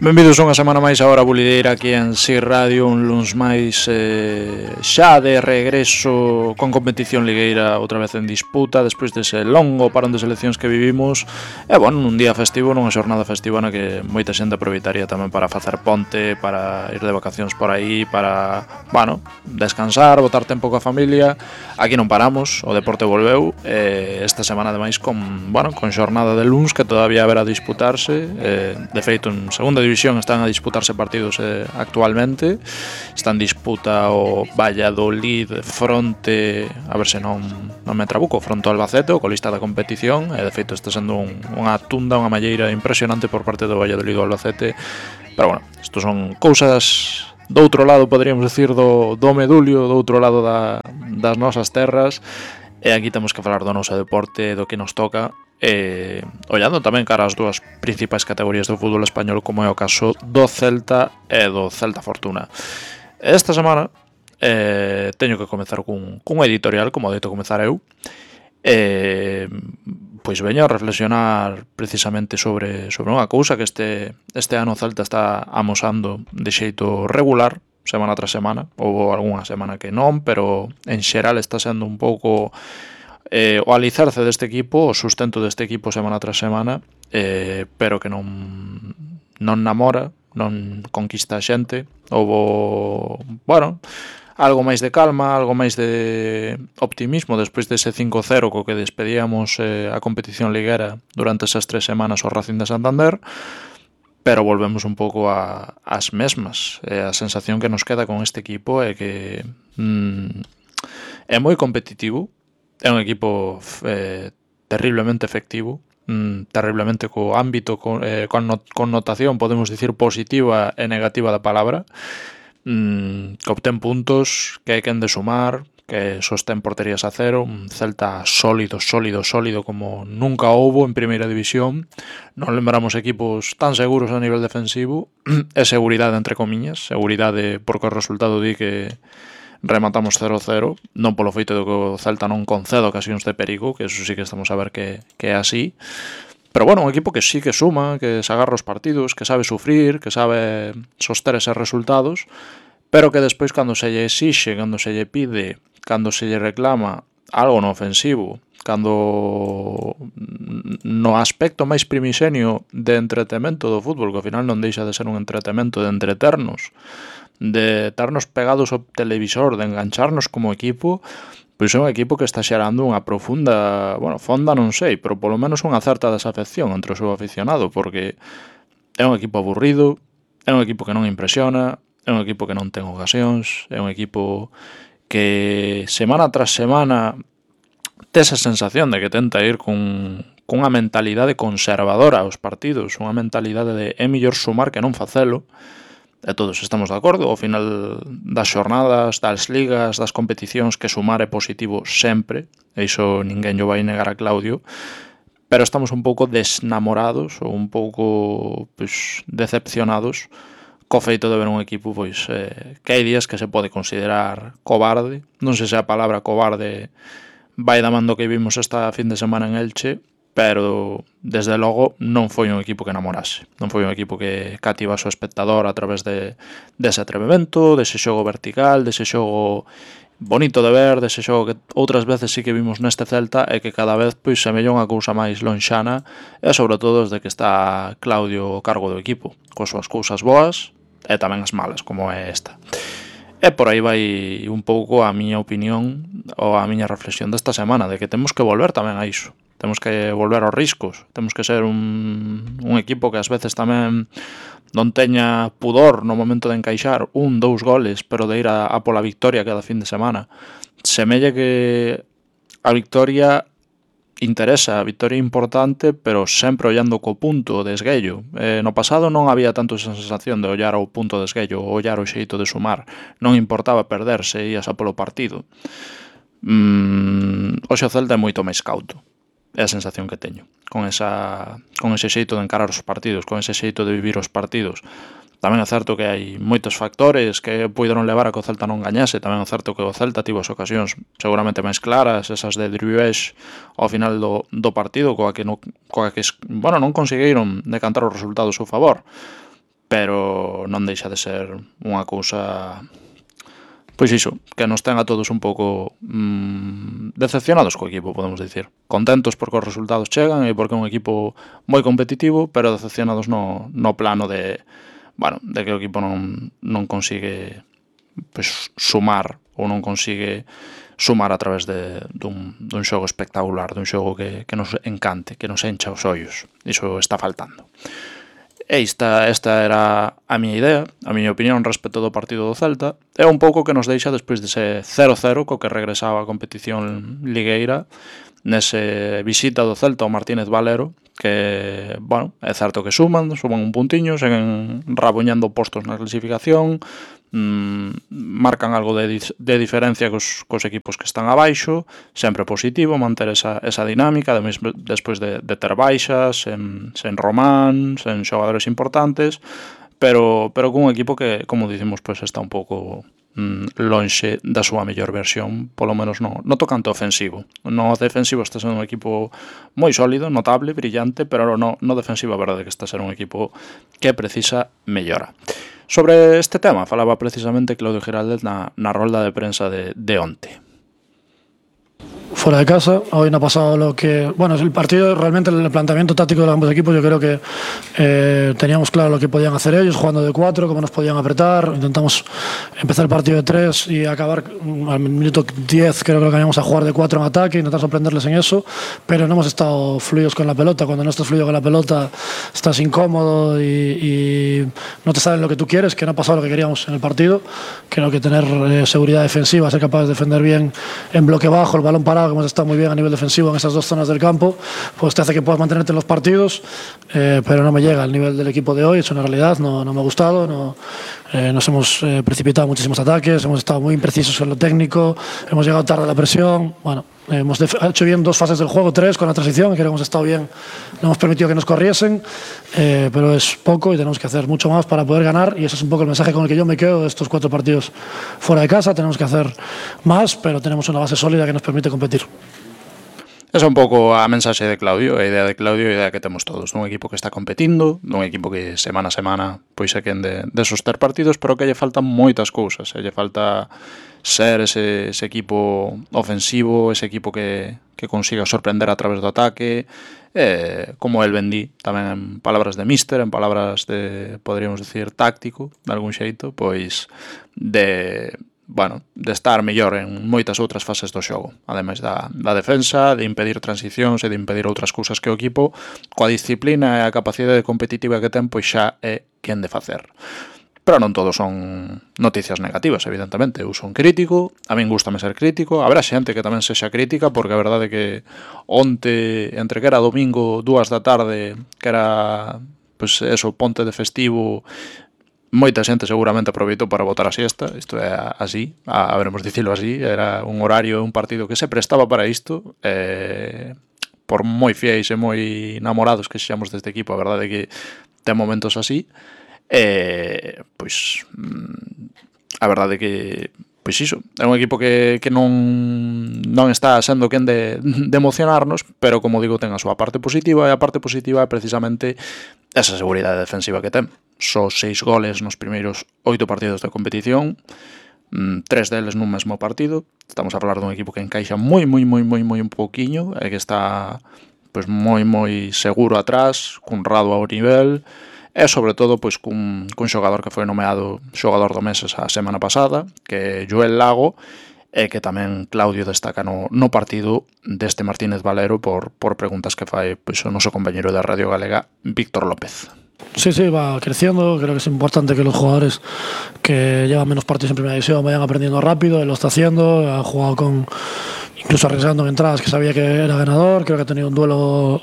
Benvidos unha semana máis a Hora Bulideira aquí en Si Radio, un luns máis xa de regreso con competición ligueira outra vez en disputa despois dese longo parón de seleccións que vivimos e bueno, nun día festivo, nunha xornada festiva na que moita xente aproveitaría tamén para facer ponte, para ir de vacacións por aí, para, bueno, descansar, botar tempo coa familia. Aquí non paramos, o deporte volveu esta semana ademais con, bueno, con xornada de luns que todavía haberá a disputarse, de feito en segunda división están a disputarse partidos actualmente. Está en disputa o Valladolid fronte, a ver se non me trabuco, fronte ao Albacete, o colista da competición, e de feito está sendo unha tunda, unha malleira impresionante por parte do Valladolid do Albacete. Pero bueno, isto son cousas do outro lado, poderíamos decir, do medulio, do outro lado das nosas terras, e aquí temos que falar do noso deporte, do que nos toca, ollando tamén cara ás dúas principais categorías do fútbol español, como é o caso do Celta e do Celta Fortuna. Esta semana teño que comezar cun editorial, como deito comezar eu, pois veño a reflexionar precisamente sobre unha cousa que este ano o Celta está amosando de xeito regular, semana tras semana. Houve algunha semana que non, pero en xeral está sendo un pouco o alicerce deste equipo, o sustento deste equipo semana tras semana, pero que non namora, non conquista a xente. Houve, bueno, algo máis de calma, algo máis de optimismo despois dese 5-0 co que despedíamos a competición liguera durante esas 3 semanas ao Racing de Santander, pero volvemos un pouco ás mesmas. A sensación que nos queda con este equipo é que é moi competitivo. É un equipo terriblemente efectivo, terriblemente co ámbito, con connotación, podemos dicir, positiva e negativa da palabra, que obtén puntos, que hai quen de sumar, que sostén porterías a cero, un Celta sólido como nunca houbo en primeira división. Non lembramos equipos tan seguros a nivel defensivo, e seguridade entre comiñas, seguridade porque o resultado di que rematamos 0-0, non polo feito de que o Celta non conceda ocasións de perigo, que eso sí que estamos a ver que é así. Pero bueno, un equipo que sí que suma, que se agarra os partidos, que sabe sufrir, que sabe soster eses resultados, pero que despois cando se lle exixe, cando se lle pide, cando se lle reclama algo no ofensivo, cando no aspecto máis primixenio de entretemento do fútbol, que ao final non deixa de ser un entretemento de entreternos, de estarnos pegados ao televisor, de engancharnos como equipo, pois é un equipo que está xerando unha profunda, bueno, fonda non sei, pero polo menos unha certa desafección entre o seu aficionado, porque é un equipo aburrido, é un equipo que non impresiona, é un equipo que non ten ocasións, é un equipo que semana tras semana tes a sensación de que tenta ir cunha mentalidade conservadora aos partidos, unha mentalidade de é mellor sumar que non facelo. E todos estamos de acordo, ao final das xornadas, das ligas, das competicións, que sumar é positivo sempre, e iso ninguén lle vai negar a Claudio, pero estamos un pouco desnamorados ou un pouco decepcionados co feito de ver un equipo que hai días que se pode considerar cobarde. Non sei se a palabra cobarde vai da man do que vimos esta fin de semana en Elche, pero desde logo non foi un equipo que namorase, non foi un equipo que cativase o espectador a través dese atrevemento, dese xogo vertical, dese xogo bonito de ver, dese xogo que outras veces sí que vimos neste Celta e que cada vez semella unha cousa máis lonxana, e sobre todo desde que está Claudio ao cargo do equipo, coas súas cousas boas e tamén as malas, como é esta. E por aí vai un pouco a miña opinión ou a miña reflexión desta semana, de que temos que volver tamén a iso. Temos que volver aos riscos, temos que ser un equipo que ás veces tamén non teña pudor no momento de encaixar 1-2 goles, pero de ir a pola victoria cada fin de semana. Semella que a victoria interesa, a victoria é importante, pero sempre ollando co punto de esguello. No pasado non había tanto esa sensación de ollar ao punto de esguello, ollar o xeito de sumar. Non importaba perderse, ías a polo partido. Hoxe o Celta é moito máis cauto. É a sensación que teño con ese xeito de encarar os partidos, con ese xeito de vivir os partidos. Tamén é certo que hai moitos factores que puideron levar a que o Celta non gañase. Tamén é certo que o Celta tivo as ocasións seguramente máis claras, esas de Driouech ao final do partido, coa que non conseguiron decantar os resultados a seu favor. pero non deixa de ser unha cousa, pois iso, que nos ten a todos un pouco decepcionados co equipo, podemos dicir. Contentos porque os resultados chegan e porque é un equipo moi competitivo, pero decepcionados no plano de, bueno, de que o equipo non consigue pois sumar ou non consigue sumar a través dun xogo espectacular, dun xogo que nos encante, que nos encha os ollos. Iso está faltando. E esta era a miña idea, a miña opinión respecto do partido do Celta. É un pouco que nos deixa despois dese 0-0 co que regresaba a competición ligueira, nese visita do Celta ao Martínez Valero, que, bueno, é certo que suman un puntiño, seguen rabuñando postos na clasificación, marcan algo de diferencia cos equipos que están abaixo, sempre positivo manter esa dinámica, despois de ter baixas, sen Román, sen xogadores importantes, pero cun equipo que, como dicimos, pues está un pouco lonxe da súa mellor versión, polo menos no tocante ofensivo. No defensivo está sendo un equipo moi sólido, notable, brillante, pero no defensivo a verdade que está sendo un equipo que precisa mellora. Sobre este tema falaba precisamente Claudio Giraldez na rolda de prensa de onte. Fuera de casa, hoy no ha pasado lo que... Bueno, el partido, realmente el planteamiento táctico de ambos equipos, yo creo que teníamos claro lo que podían hacer ellos, jugando de 4, cómo nos podían apretar. Intentamos empezar el partido de 3 y acabar al minuto 10, creo que cambiamos a jugar de 4 en ataque, intentar sorprenderles en eso, pero no hemos estado fluidos con la pelota. Cuando no estás fluido con la pelota, estás incómodo y no te sale lo que tú quieres, que no ha pasado lo que queríamos en el partido. Creo que tener seguridad defensiva, ser capaz de defender bien en bloque bajo, el balón parado, que hemos estado muy bien a nivel defensivo en esas dos zonas del campo, pues te hace que puedas mantenerte en los partidos, pero no me llega al nivel del equipo de hoy, es una realidad, no me ha gustado, nos hemos precipitado muchísimos ataques, hemos estado muy imprecisos en lo técnico, hemos llegado tarde a la presión, bueno, hemos hecho bien 2 fases del juego, 3 con la transición, creo que hemos estado bien, no hemos permitido que nos corriesen, pero es poco y tenemos que hacer mucho más para poder ganar, y ese es un poco el mensaje con el que yo me quedo de estos 4 partidos fuera de casa. Tenemos que hacer más, pero tenemos una base sólida que nos permite competir. Esa é un pouco a mensaxe de Claudio, a idea de Claudio e a idea que temos todos, un equipo que está competindo, un equipo que semana a semana pois é quen de soster partidos, pero que lle faltan moitas cousas, lle falta ser ese equipo ofensivo, ese equipo que consiga sorprender a través do ataque, como el vendí tamén en palabras de míster, en palabras de, poderíamos decir, táctico, de algún xeito, pois de estar mellor en moitas outras fases do xogo, ademais da defensa, de impedir transicións e de impedir outras cousas que o equipo, coa disciplina e a capacidade competitiva que ten, pois xa é quen de facer. Pero non todos son noticias negativas, evidentemente. Eu son crítico, a min gustame ser crítico, haberá xente que tamén sexa crítica, porque a verdade é que onte, entre que era domingo, 2 da tarde, que era, pois eso, ponte de festivo, moita xente seguramente aproveitou para botar a siesta, isto é así, haberemos dicilo así, era un horario, un partido que se prestaba para isto, por moi fiéis e moi namorados que xamos deste equipo, a verdade é que ten momentos así, pois a verdade é que pois iso, é un equipo que non está sendo quen de emocionarnos, pero como digo, ten a súa parte positiva, e a parte positiva é precisamente esa seguridade defensiva que ten. Só 6 goles nos primeiros 8 partidos de competición, 3 deles nun mesmo partido. Estamos a falar dun equipo que encaixa moi un pouquiño, e que está pois moi seguro atrás, cun Rado ao nivel, e sobre todo pois cun xogador que foi nomeado xogador do mes a semana pasada, que é Joel Lago, e que tamén Claudio destaca no partido deste Martínez Valero por preguntas que fai pois o noso compañeiro da Radio Galega, Víctor López. Sí, va creciendo. Creo que es importante que los jugadores que llevan menos partidos en primera división vayan aprendiendo rápido. Él lo está haciendo, ha jugado incluso arriesgando en entradas que sabía que era ganador. Creo que ha tenido un duelo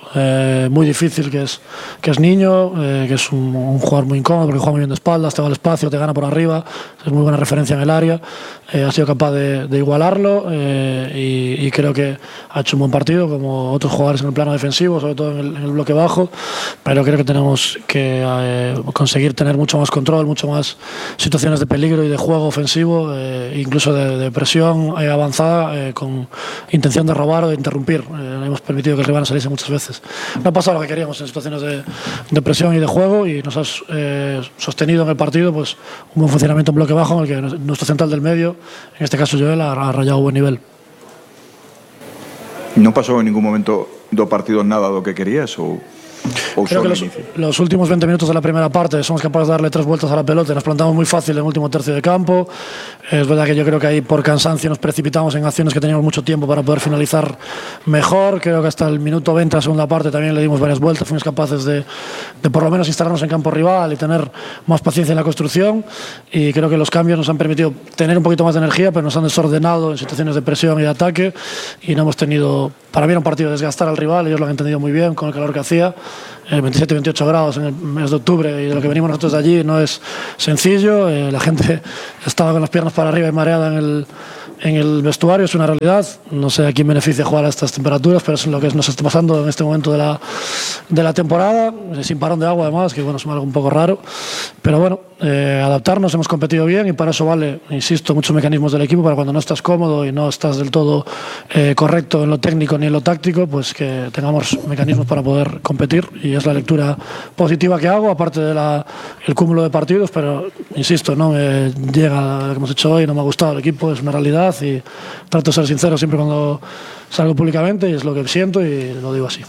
muy difícil, que es Niño, que es un jugador muy incómodo porque juega muy bien de espaldas, te va al espacio, te gana por arriba, es muy buena referencia en el área. Ha sido capaz de igualarlo y creo que ha hecho un buen partido, como otros jugadores en el plano defensivo, sobre todo en el bloque bajo, pero creo que tenemos que conseguir tener mucho más control, mucho más situaciones de peligro y de juego ofensivo, incluso de presión avanzada, con intención de robar o de interrumpir. Hemos permitido que el rival saliese muchas veces. No ha pasado lo que queríamos en situaciones de presión y de juego, y nos has sostenido en el partido pues un buen funcionamiento en bloque bajo, en el que nuestro central del medio, en este caso Joel, ha rayado buen nivel. Non pasou en ningún momento do partido nada do que querías ou Creo que los últimos 20 minutos de la primera parte somos capaces de darle 3 vueltas a la pelota y nos plantamos muy fácil en el último tercio de campo. Es verdad que yo creo que ahí por cansancio nos precipitamos en acciones que teníamos mucho tiempo para poder finalizar mejor. Creo que hasta el minuto 20 de la segunda parte también le dimos varias vueltas, fuimos capaces de por lo menos instalarnos en campo rival y tener más paciencia en la construcción, y creo que los cambios nos han permitido tener un poquito más de energía, pero nos han desordenado en situaciones de presión y de ataque, y no hemos tenido, para mí era un partido de desgastar al rival. Ellos lo han entendido muy bien con el calor que hacía, 27-28 grados en el mes de octubre, y de lo que venimos nosotros de allí no es sencillo. La gente estaba con las piernas para arriba y mareada en el vestuario, es una realidad. No sé a quién beneficia jugar a estas temperaturas, pero es lo que nos está pasando en este momento de la temporada, sin parón de agua además, que bueno, es algo un poco raro, pero bueno, adaptarnos. Hemos competido bien y para eso vale, insisto, muchos mecanismos del equipo, para cuando no estás cómodo y no estás del todo correcto en lo técnico ni en lo táctico, pues que tengamos mecanismos para poder competir, y es la lectura positiva que hago, aparte del cúmulo de partidos. Pero insisto, no me llega lo que hemos hecho hoy, no me ha gustado el equipo, es una realidad, y trato de ser sincero siempre cuando salgo públicamente, y es lo que siento y lo digo así.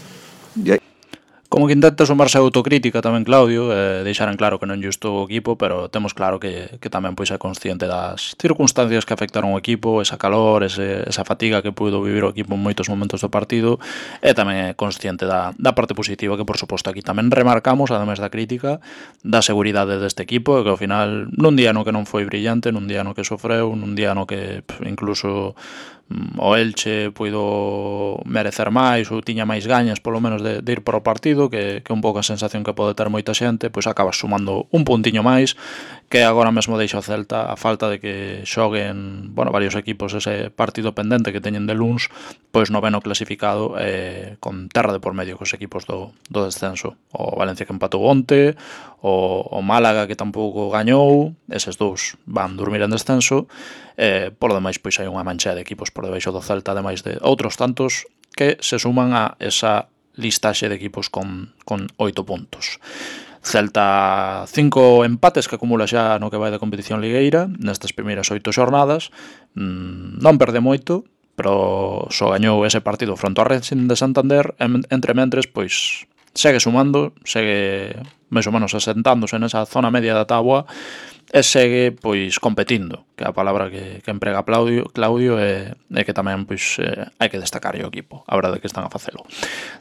Como que intenta sumarse a autocrítica tamén Claudio, deixar en claro que non xusto o equipo, pero temos claro que tamén pois é consciente das circunstancias que afectaron o equipo, esa calor, esa fatiga que puido vivir o equipo en moitos momentos do partido, e tamén é consciente da parte positiva que, por suposto, aquí tamén remarcamos, ademais da crítica, da seguridade deste equipo, e que ao final, nun día no que non foi brillante, nun día no que sofreu, nun día no que incluso o Elche puido merecer máis ou tiña máis gañas polo menos de ir para o partido, que un pouco a sensación que pode ter moita xente, pois acabas sumando un puntiño máis, que agora mesmo deixa o Celta a falta de que xoguen, bueno, varios equipos ese partido pendente que teñen de luns, pois noveno clasificado, con terra de por medio cos equipos do descenso. O Valencia que empatou onte, o Málaga que tampouco gañou, eses dous van dormir en descenso. Por lo demais, pois hai unha mancha de equipos por debaixo do Celta, ademais de outros tantos que se suman a esa listaxe de equipos con 8 puntos. Celta 5 empates que acumula xa no que vai de competición ligueira nestas primeiras 8 xornadas. Non perde moito, pero só gañou ese partido fronte ao Racing de Santander. Entre mentres, pois segue sumando, segue máis ou menos asentándose nesa zona media da táboa, e segue pois competindo, que é a palabra que emprega Claudio, e que tamén pois hai que destacar o equipo, a verdade que están a facelo.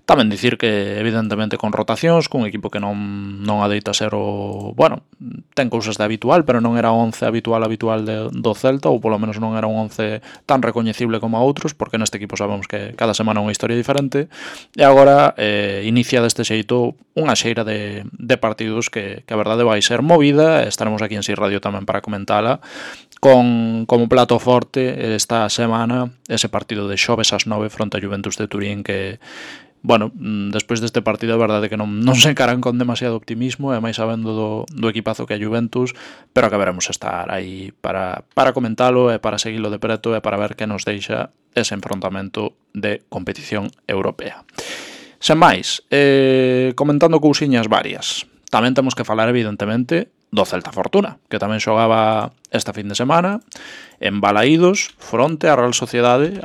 Tamén dicir que evidentemente con rotacións, cun equipo que non adeita ser o, bueno, ten cousas de habitual, pero non era o 11 habitual do Celta, ou polo menos non era un 11 tan recoñecible como a outros, porque neste equipo sabemos que cada semana é unha historia diferente, e agora inicia deste xeito unha xeira de partidos que a verdade vai ser movida. Estaremos aquí en Sir Radio tamén para comentala, con como plato forte esta semana ese partido de xoves ás 9 fronte a Juventus de Turín, que, bueno, despois deste partido a verdade que non se encaran con demasiado optimismo, e máis sabendo do equipazo que é Juventus, pero que veremos estar aí para comentalo e para seguilo de preto e para ver que nos deixa ese enfrontamento de competición europea. Sen máis, comentando cousiñas varias, tamén temos que falar evidentemente do Celta Fortuna, que tamén xogaba esta fin de semana en Balaídos fronte á Real Sociedade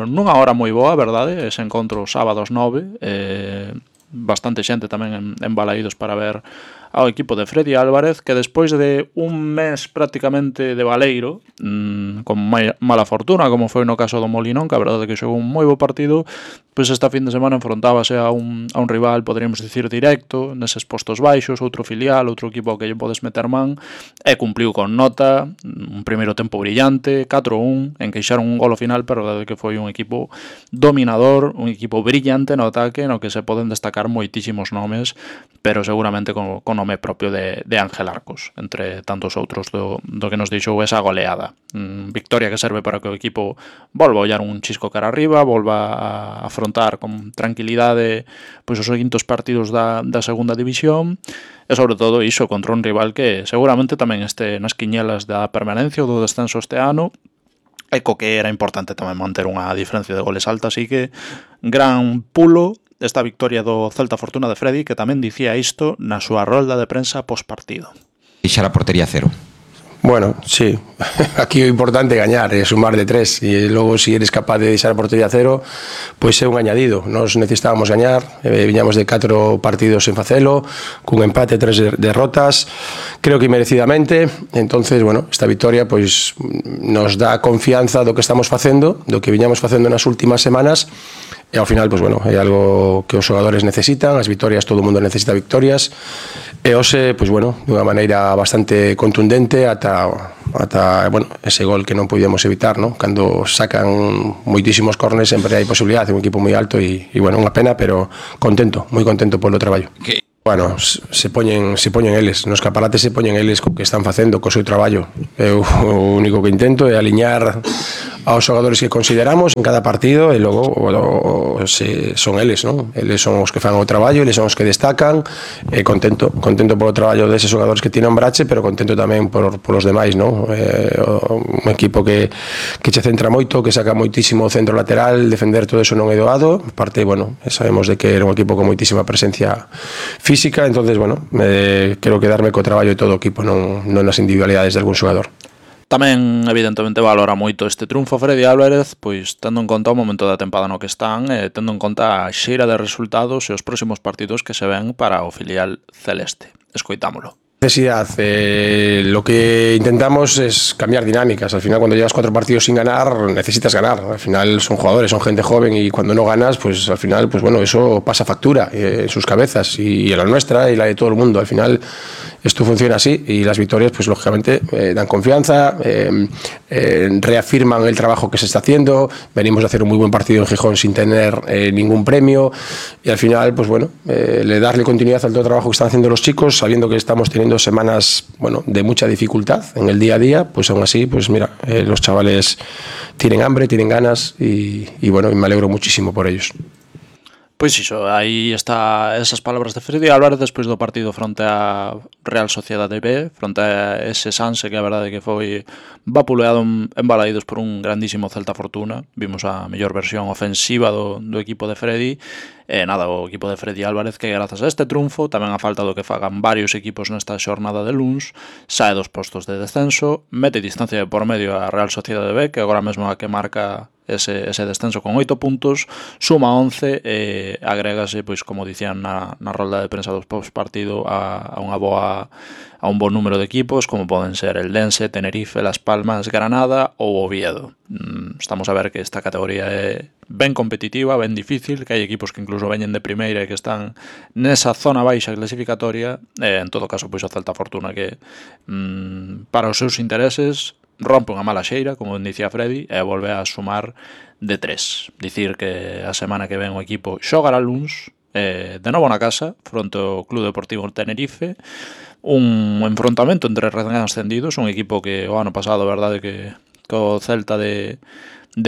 nunha hora moi boa, verdade, ese encontro sábados 9, bastante xente tamén en Balaídos para ver ao equipo de Freddy Álvarez, que despois de un mes prácticamente de baleiro, con mala fortuna, como foi no caso do Molinón, que a verdade que xogou un moi bo partido, pois esta fin de semana enfrontábase a un rival, poderíamos dicir, directo, neses postos baixos, outro filial, outro equipo ao que lle podes meter man, e cumpliu con nota, un primeiro tempo brillante, 4-1, enqueixaron un gol ao final, pero a verdade que foi un equipo dominador, un equipo brillante no ataque, no que se poden destacar moitísimos nomes, pero seguramente con nome propio de Ángel Arcos, entre tantos outros do que nos deixou esa goleada. Victoria que serve para que o equipo volva a ollar un chisco cara arriba, volva a afrontar con tranquilidade pois os seguintes partidos da segunda división, e sobre todo iso contra un rival que seguramente tamén este nas quiñelas da permanencia ou do descenso este ano, e co que era importante tamén manter unha diferencia de goles alta, así que gran pulo esta victoria do Celta Fortuna de Freddy, que tamén dicía isto na súa rolda de prensa pospartido. Deixar a portería cero. Bueno, sí, aquí o importante é gañar, é sumar de 3 e logo se eres capaz de deixar a portería cero, pois é un añadido. Nos necesitábamos gañar, viñamos de 4 partidos en facelo, cun empate, 3 derrotas, creo que merecidamente. Entonces, bueno, esta victoria pois nos dá confianza do que estamos facendo, do que viñamos facendo nas últimas semanas. E ao final, pois bueno, é algo que os xogadores necesitan, as victorias, todo o mundo necesita victorias. E hoxe, pois bueno, dunha maneira bastante contundente ata bueno, ese gol que non podíamos evitar, ¿no? Cando sacan moitísimos córners sempre hai posibilidade, é un equipo moi alto e bueno, unha pena, pero contento, moi contento polo traballo. Bueno, se poñen eles, nos escaparates se poñen eles co que están facendo, co seu traballo. Eu o único que intento é aliñar aos xogadores que consideramos en cada partido e logo son eles, non? Eles son os que fan o traballo, eles son os que destacan, e contento polo traballo deses xogadores que ti nombrache, pero contento tamén por os demais, non? Un equipo que che centra moito, que saca moitísimo o centro lateral, defender todo eso non é doado, aparte, bueno, sabemos de que era un equipo con moitísima presencia física, entonces, bueno, quero quedarme co traballo de todo o equipo, non nas individualidades de algún xogador. Tamén, evidentemente, valora moito este triunfo Freddy Álvarez, pois tendo en conta o momento da tempada no que están, tendo en conta a xeira de resultados e os próximos partidos que se ven para o filial celeste. Escoitámolo. Necesidad, lo que intentamos es cambiar dinámicas. Al final, cuando llevas 4 partidos sin ganar, necesitas ganar. Al final son jugadores, son gente joven, y cuando no ganas, pues al final, pues bueno, eso pasa factura en sus cabezas, y en la nuestra y la de todo el mundo. Al final esto funciona así, y las victorias, pues lógicamente dan confianza, reafirman el trabajo que se está haciendo. Venimos de hacer un muy buen partido en Gijón sin tener ningún premio, y al final, pues bueno, darle continuidad al todo el trabajo que están haciendo los chicos, sabiendo que estamos teniendo semanas, bueno, de mucha dificultad en el día a día. Pues aún así, pues mira, los chavales tienen hambre, tienen ganas, y bueno, y me alegro muchísimo por ellos. Pois iso, aí está esas palabras de Freddy Álvarez despois do partido fronte a Real Sociedade B, fronte a ese Sanse que a verdade que foi vapuleado en Balaídos por un grandísimo Celta Fortuna. Vimos a mellor versión ofensiva do equipo de Freddy. Nada, o equipo de Freddy Álvarez, que grazas a este triunfo, tamén a falta do que fagan varios equipos nesta xornada de luns, sae dos postos de descenso, mete distancia de por medio a Real Sociedade B, que agora mesmo a que marca ese descenso con 8 puntos, suma 11 e agrégase, pois como dicían na rolda de prensa dos post-partido, a un bon número de equipos, como poden ser el Dense, Tenerife, Las Palmas, Granada ou Oviedo. Estamos a ver que esta categoría é ben competitiva, ben difícil, que hai equipos que incluso veñen de primeira e que están nesa zona baixa clasificatoria. En todo caso, pois o Celta Fortuna, que para os seus intereses rompe unha mala xeira, como dicía Freddy, e volve a sumar de 3. Dicir que a semana que ven o equipo xogará luns, de novo na casa, fronte ao Club Deportivo Tenerife, un enfrontamento entre recén ascendidos, un equipo que o ano pasado, a verdade, que o Celta de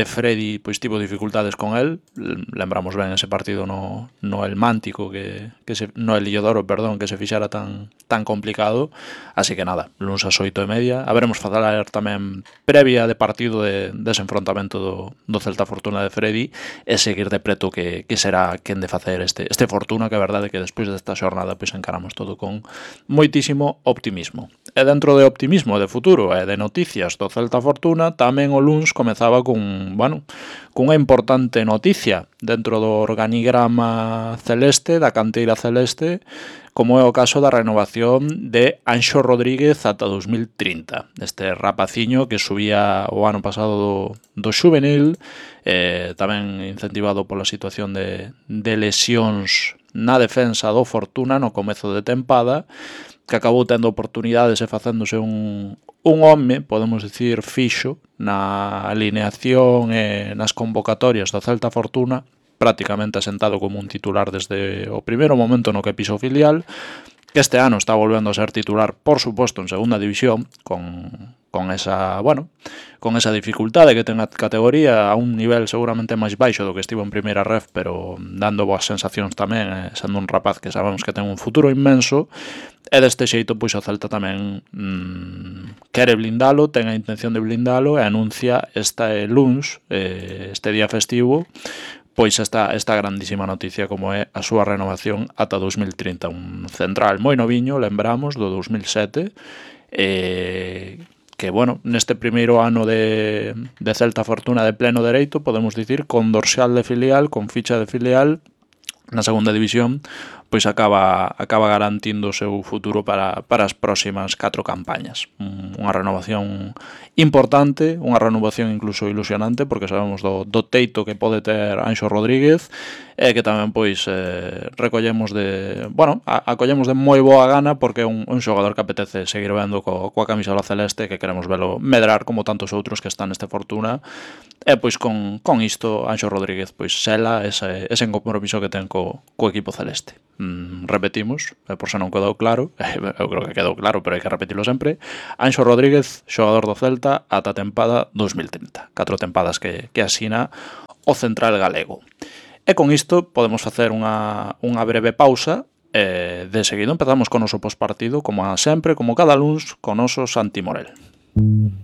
Freddy pois tivo dificultades con el. Lembramos ben ese partido no El Mántico, no El Illodoro, perdón, que se fixara tan complicado. Así que nada, luns ás 8:30 haberemos falar tamén previa de partido dese enfrontamento do Celta Fortuna de Freddy, e seguir de preto que será quen de facer este Fortuna, que a verdade que despois desta xornada pois encaramos todo con moitísimo optimismo. E dentro de optimismo de futuro e de noticias do Celta Fortuna, tamén o luns comezaba cunha importante noticia dentro do organigrama celeste, da canteira celeste, como é o caso da renovación de Anxo Rodríguez ata 2030. Este rapaciño que subía o ano pasado do xuvenil, tamén incentivado pola situación de lesións na defensa do Fortuna no comezo de tempada, que acabou tendo oportunidades e facéndose un home, podemos dicir, fixo na alineación e nas convocatorias do Celta Fortuna, prácticamente asentado como un titular desde o primeiro momento no que pisou filial, que este ano está volvendo a ser titular, por suposto, en segunda división, con esa dificultade que ten a categoría, a un nivel seguramente máis baixo do que estivo en primeira ref, pero dando boas sensacións tamén, sendo un rapaz que sabemos que ten un futuro inmenso. E deste xeito, pois o Celta tamén quere blindalo, ten a intención de blindalo e anuncia este luns, este día festivo, pois esta grandísima noticia como é a súa renovación ata 2030. Un central moi noviño, lembramos, do 2007, que, bueno, neste primeiro ano de Celta Fortuna de pleno dereito, podemos dicir, con dorsal de filial, con ficha de filial, na segunda división, pois acaba garantindo o seu futuro para as próximas 4 campañas. Unha renovación importante, unha renovación incluso ilusionante, porque sabemos do teito que pode ter Anxo Rodríguez, e que tamén pois recollemos acollemos de moi boa gana, porque é un xogador que apetece seguir vendo coa camisola celeste, que queremos velo medrar como tantos outros que están neste Fortuna, e pois con isto Anxo Rodríguez pois sela ese compromiso que ten co equipo celeste. Repetimos, por se non quedou claro, eu creo que quedou claro, pero hai que repetilo sempre. Anxo Rodríguez, xogador do Celta ata a tempada 2030, 4 tempadas que asina o central galego. E con isto podemos facer unha breve pausa, de seguido empezamos con o noso postpartido, como sempre, como cada luns, con o noso Santi Morel.